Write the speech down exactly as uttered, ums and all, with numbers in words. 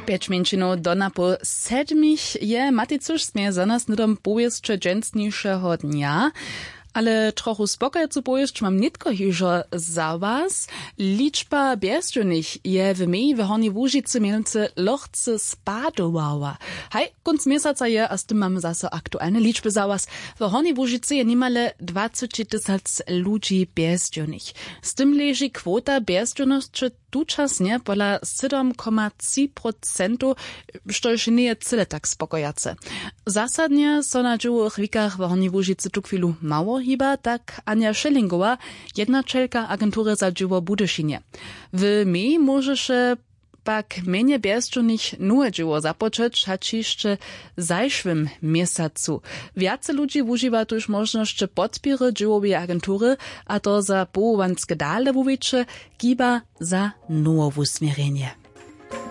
Pjeć mjeńšinow do napoł sedmich je maticuž směje za nas hnydom powěsće dźensnišeho dnja. Ale trochu spokojacu powěsć mam nětko hižo za was. Ličba bjezdźownych je w meji w hornjej łužicy mjenujcy lochce spadowała. Haj, kónc měsaca je a z tym mamy zaso aktualne ličby za was. W hornjej łužicy je nimale dwaceći tysac ludźi bjezdźownych. Z tym leži kwota bjezdźownosće tučasnje pola sydom koma tři procentow, štož njeje cyle tak spokojace. Zasadnje so na dźěłowych wikach w hornjej łužicy tuchwilu mało hiba, tak anja šelingowa, jednaćelka agentury za dźěło w budyšinje. W meji móžeše pak mjenje bjezdźownych nowe dźěło započeć hač hišće w zašłym měsacu. Wjace ludźi wužiwa tuž móžnosće podpěry dźěłoweje agentury, a to za powołanske dale wuwěće, kiba za nowowusměrjenje.